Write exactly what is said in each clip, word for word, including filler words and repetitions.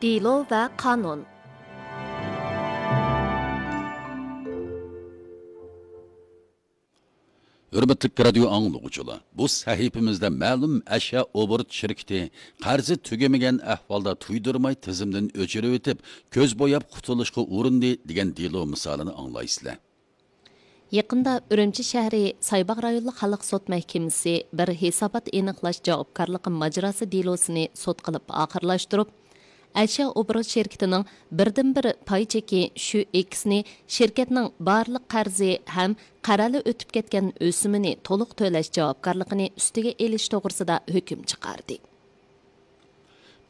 دېلو ۋە قانۇن. ھۆرمەتلىك رادىيو ئاڭلىغۇچىلار، بۇ سەھىپىمىزدە مەلۇم ئەشيا ئوبوروت شىركىتى قەرزى تۈگىمىگەن ئەھۋالدا تۇيدۇرماي تىزىمدىن ئۆچۈرۈۋېتىپ، كۆز بوياپ قۇتۇلۇشقا ئۇرۇندى دېگەن دېلو مىسالىنى ئاڭلايسىلەر. يېقىندا ئۈرۈمچى شەھىرى سايباغ رايونلۇق خەلق سوت مەھكىمىسى بىر ھېسابات ئېنىقلاش جاۋابكارلىقى ماجىراسى دېلوسىنى سوت قىلىپ ئاخىرلاشتۇرۇپ، ئەشيا ئوبوروت شىركىتىنىڭ بىردىنبىر پاي چېكى شۈ ئېكسنى شىركەتنىڭ بارلىق قەرزى ھەم قەرەلە ئۆتۈپ كەتكەن ئۆسۈمىنى تولۇق تۆلەش جاۋابكارلىقىنى ئۈستىگە ئېلىش توغرىسىدا ھۆكۈم چىقاردى.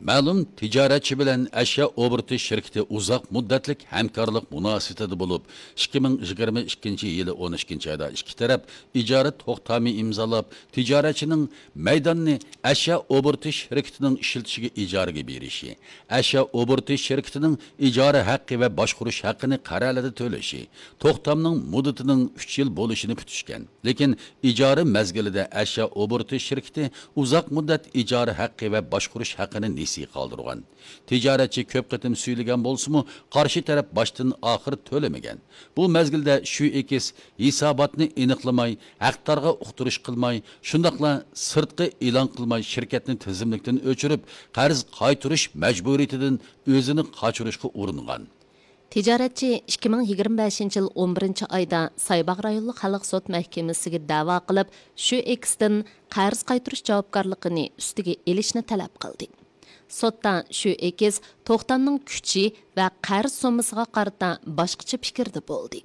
مەلۇم تىجارەتچى بىلەن ئەشيا ئوبوروتى شىركىتى ئۇزاق مۇددەتلىك ھەمكارلىق مۇناسىۋىتىدە بولۇپ، ئىككى مىڭ يىگىرمە ئىككىنچى يىلى ئون ئىككىنچى ئايدا ئىككى تەرەپ ئىجارە توختامى ئىمزالاپ، تىجارەتچىنىڭ مەيداننى ئەشيا ئوبوروتى شىركىتىنىڭ ئىشلىتىشىگە ئىجارىگە بېرىشى، ئەشيا ئوبوروتى شىركىتىنىڭ ئىجارە ھەققى ۋە باشقۇرۇش ھەققىنى قەرەلىدە تۆلىشى، توختامنىڭ مۇددىتىنىڭ ئۈچ يىل بولۇشىنى پۈتۈشكەن. لېكىن ئىجارە مەزگىلىدە ئەشيا ئوبوروتى شىركىتى ئۇزاق مۇددەت ئىجارە ھەققى ۋە باشقۇرۇش ھەققىنى نېسى قالدۇرغان. تىجارەتچى كۆپ قېتىم سۈيلىگەن بولسىمۇ، قارشى تەرەپ باشتىن ئاخىر تۆلىمىگەن. بۇ مەزگىلدە شۈ ئېكس ھېساباتنى ئېنىقلىماي، ھەقدارغا ئۇقتۇرۇش قىلماي، شۇنداقلا سىرتقا ئېلان قىلماي، شىركەتنى تىزىملىكتىن ئۆچۈرۈپ، قەرز قايتۇرۇش مەجبۇرىيىتىدىن ئۆزىنى قاچۇرۇشقا ئۇرۇنغان. تىجارەتچى ئىككى مىڭ يىگىرمە بەشىنچى يىل ئون بىرىنچى ئايدا سايباغ رايونلۇق خەلق سوت مەھكىمىسىگە دەۋا قىلىپ، شۈ ئېكستىن قەرز قايتۇرۇش جاۋابكارلىقىنى ئۈستىگە ئېلىشنى تەلەپ قىلدى. سوتتا شۈ ئېكس توختامنىڭ كۈچى ۋە قەرز سوممىسىغا قارىتا باشقىچە پىكىردە بولدى.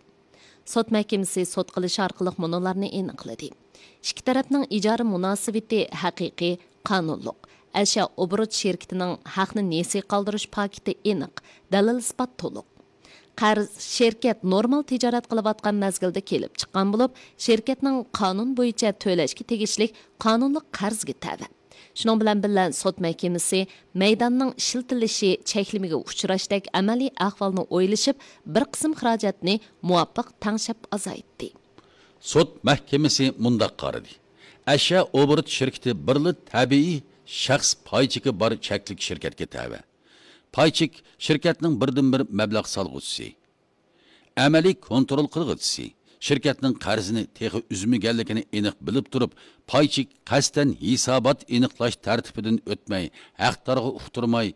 سوت مەھكىمىسى سوت قىلىش ئارقىلىق مۇنۇلارنى ئېنىقلىدى: ئىككى تەرەپنىڭ ئىجارە مۇناسىۋىتى ھەقىقىي، قانۇنلۇق. ئەشيا ئوبوروت شىركىتىنىڭ ھەقنى نېسى قالدۇرۇش پاكىتى ئېنىق، دەلىل-ئىسپات تولۇق. قەرز شىركەت نورمال تىجارەت قىلىۋاتقان مەزگىلدە كېلىپ چىققان بولۇپ، شىركەتنىڭ قانۇن بويىچە تۆلەشكە تېگىشلىك قانۇنلۇق قەرزگە تەۋە. شۇنىڭ بىلەن بىللە، سوت مەھكىمىسى مەيداننىڭ ئىشلىتىلىشى چەكلىمىگە ئۇچراشتەك ئەمەلىي ئەھۋالنى ئويلىشىپ، بىر قىسىم خىراجەتنى مۇۋاپىق تەڭشەپ ئازايتتى. سوت مەھكىمىسى مۇنداق قارىدى: ئەشيا ئوبوروت شىركىتى بىرلا تەبىئىي شەخس پاي چېكى بار چەكلىك شىركەتكە تەۋە. پاي چېك شىركەتنىڭ بىردىنبىر مەبلەغ سالغۇچىسى، ئەمەلىي كونترول قىلغۇچىسى، شىركەتنىڭ قەرزىنى تېخى ئۈزمىگەنلىكىنى ئېنىق بىلىپ تۇرۇپ، پاي چېك قەستەن ھېسابات ئېنىقلاش تەرتىپىدىن ئۆتمەي، ھەقدارغا ئۇقتۇرماي،